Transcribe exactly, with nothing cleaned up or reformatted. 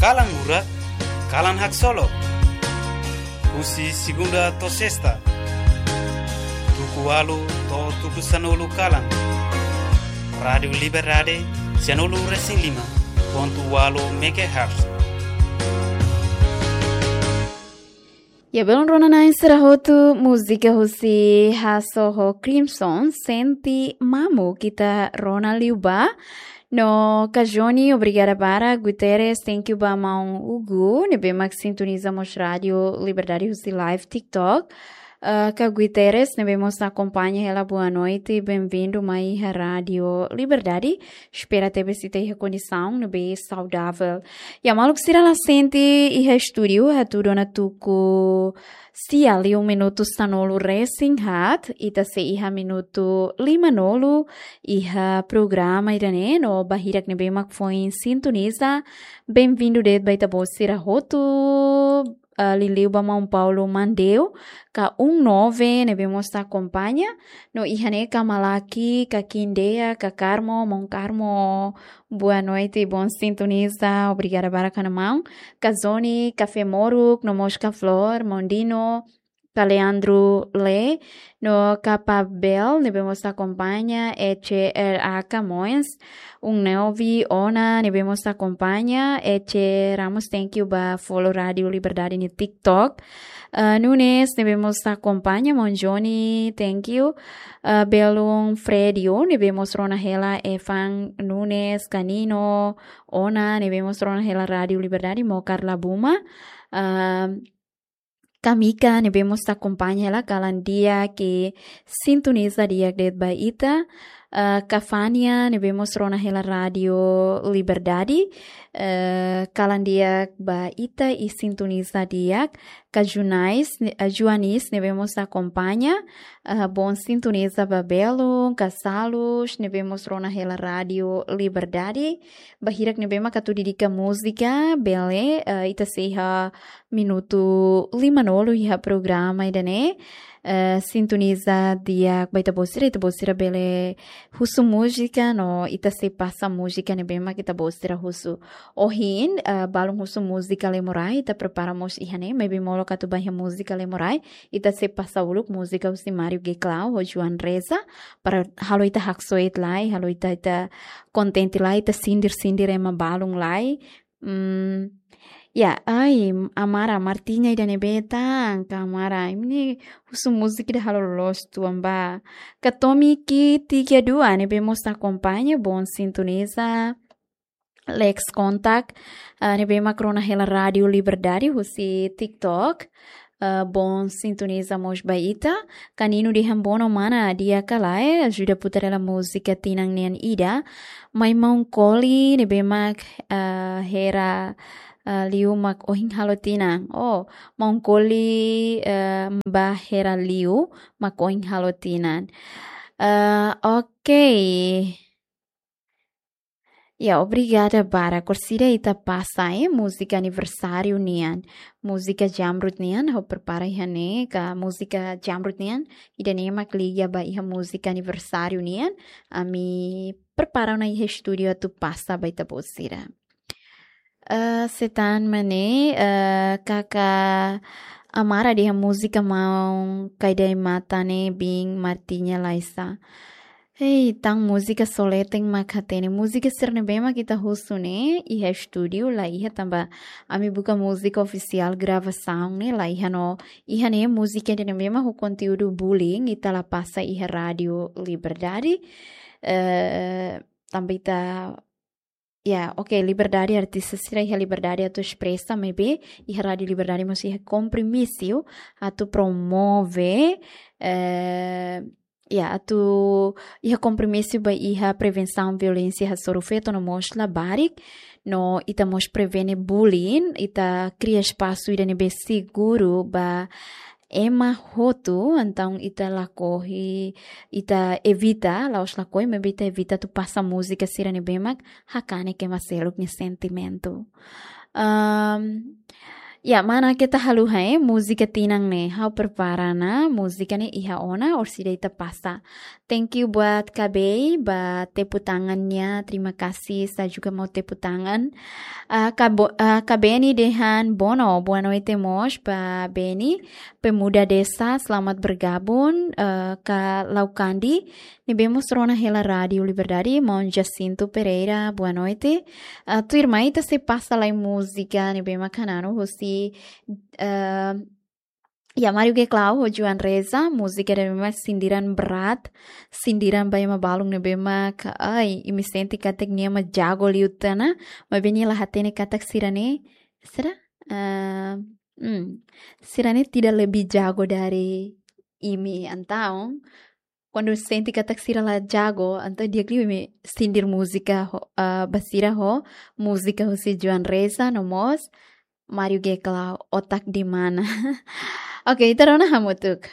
Kalan Murak, Kalan Haksolok. Husi segunda to'o sesta, tuku ualu to'o tuku sanulu kalan. Rádiu Liberdade, sianulu resin lima pontu ualu megahertz. Ya, belun rona-na'in sira hotu, múzika husi Hasso ho Crimson, Sente Mamuk, ita rona liu ba. No ka Johnny, obrigada barak. Guterres, thank you ba maun Hugo, ne'ebé mak sintoniza mós Rádiu Liberdade husi live TikTok. Ah, ka Guterres, ne'ebé mós akompaña hela, boa noite, bem-vindo mai iha Rádiu Liberdade. Espera tebes ita iha kondisaun ne'ebé saudavel. Ya, maluk sira, la sente iha estúdiu, hatudu ona tuku sia liu minutu sanulu resin haat, ita sei iha minutu limanulu iha programa ida-ne'e, no ba hirak ne'ebé mak foin sintoniza, bem-vindo de'it ba ita-boot sira hotu, ah, liuliu ba maun Paulo Mandeu, ka um nove, ne'ebé mós akompaña, no iha ne'e ka Malaki, ka Kindeya, ka Carmo, maun Carmo, boa noite, bom sintoniza, obrigada barak ona maun. Ka Zoni, ka Femoruk, no mós ka Flor, maun Dino, ka Leandro Le, no ka Pabel, ne'ebé mós akompaña, Ece R A Camões, um nove, Ona, ne'ebé mós akompaña, Ece Ramos, thank you ba follow Rádiu Liberdade nia TikTok. Ah, Nunes, ne'ebé mós akompaña, maun Johnny, thank you. Ah, belun Fredio, ne'ebé mós rona hela, Evan Nunes, Kanino, Ona, ne'ebé mós rona hela Rádiu Liberdade, maun Carla Buma. Ah, Kamika, ne'ebé mós akompaña hela, kalan di'ak, sintoniza di'ak de'it ba ita. Ah, ka Fania, ne'ebé mós rona hela Rádiu Liberdade. Eh, kalan di'ak ba ita i sintoniza di'ak. Ka Junais, ne-, ah, Juanis, ne'ebé mós akompaña. Ah, bom sintoniza ba belun, ka Salus, ne'ebé mós rona hela Rádiu Liberdade. Ba hirak ne'ebé mak atu dedika múzika, bele, ah, ita sei iha minutu limanulu iha programa ida-ne'e. Eh, sintoniza di'ak ba ita-boot sira, ita-boot sira bele husu múzika, no ita sei pasa múzika ne'ebé mak ita-boot sira husu. Ohin, eh, balun husu múzika Lemurai, ita prepara mós iha ne'e, maibé molok atu ba iha múzika Lemurai, ita sei pasa uluk múzika husi Mário Geclau, ho João Reza, para halo ita haksoit lai, halo ita, ita kontente lai, ita sindir-sindir ema balun lai, Hmm, ya, ai, Amara, Martinha ida ne'ebé tan, ka Amara, imi husu múzika ida halo loos tuan ba. Ka Tommy Ki tiga dua, ne'ebé mós akompaña, bom sintoniza. Lex Contact, ah, ne'ebé mak rona hela Rádiu Liberdade, husi TikTok. Ah, bom sintoniza mós ba ita. Ka Nino de Hambono, mana, di'ak ka lae, ajuda putar hela múzika tinan nian ida. Mai maun Koli, ne'ebé mak, ah, hera, ah, liu mak ohin halo tinan. Oh, maun Koli, ah, ba hera liu mak ohin halo tinan. Ah, oke. Ya, obrigada barak. Orsida ita pasa, eh, múzika aniversáriu nian. Múzika Jamrut nian, ha'u prepara iha ne'e, ka múzika Jamrut nian, ida-ne'e mak liga ba iha múzika aniversáriu nian. Ami prepara ona iha estúdiu atu pasa ba ita-boot sira. Eh, setan mane, eh, kaka Amara dehan múzika maun Kaidai Mata ne'e biin Martinha Laisa. Hei, tan múzika soleten mak hatene. Múzika sira ne'ebé mak ita husu ne'e, iha estúdiu la iha tanba ami buka múzika ofisiál gravasaun ne'e la iha no. Iha ne'e múzika ida ne'ebé mak ho konteúdu bullying ita la pasa iha Rádiu Liberdade. Eh, tanba ita, ya, oke, liberdade, artista sira iha liberdade atu espresa, maibé iha Rádiu Liberdade mós iha kompromisu atu promove, eh, ya, atu iha kompromisu ba iha prevensaun violénsia hasoru feto no mós labarik, no ita mós prevene bullying, ita kria espasu ida ne'ebé seguru ba ema hotu, entaun ita lakohi, ita evita, la'ós lakohi, maibé ita evita atu pasa múzika sira ne'ebé mak hakanek ema seluk nia sentimentu. Ahm, Ya, mana keta haluha, eh, múzika tinan ne'e. Ha'u prepara ona múzika ne'e iha ona, orsida ita pasa. Thank you buat Kabei, ba tepuk tangannya. Terima kasih, saya juga mau tepuk tangan. Ah, Kabo-, ah, Kabeni dehan bono, boa noite mós ba Beni. Pemuda Desa, selamat bergabung, eh, ka Laukandi. Ne'ebé mós rona hela Rádio Liberdade, maun Jacinto Pereira, boa noite. Ah, tuirmai ita sei pasa lai múzika ne'ebé mak hananu husi, eh, ya, Mário Geclau ho Joan Reza, múzika ne'ebé mak sindiran berat, sindiran ba ema balun ne'ebé mak, ai, imi sente katak nia mak jago liután ona, maibé nia la hatene katak sira-ne'e, sira, eh, hmm, sira-ne'e tidak lebih jago dari imi, entaun kuandu sente katak sira la jago, entaun di'ak liu imi sindir múzika ho, ah, ba sira ho múzika husi Joan Reza no mós Mário Geclau, Otak di Mana. Oke, ita rona hamutuk.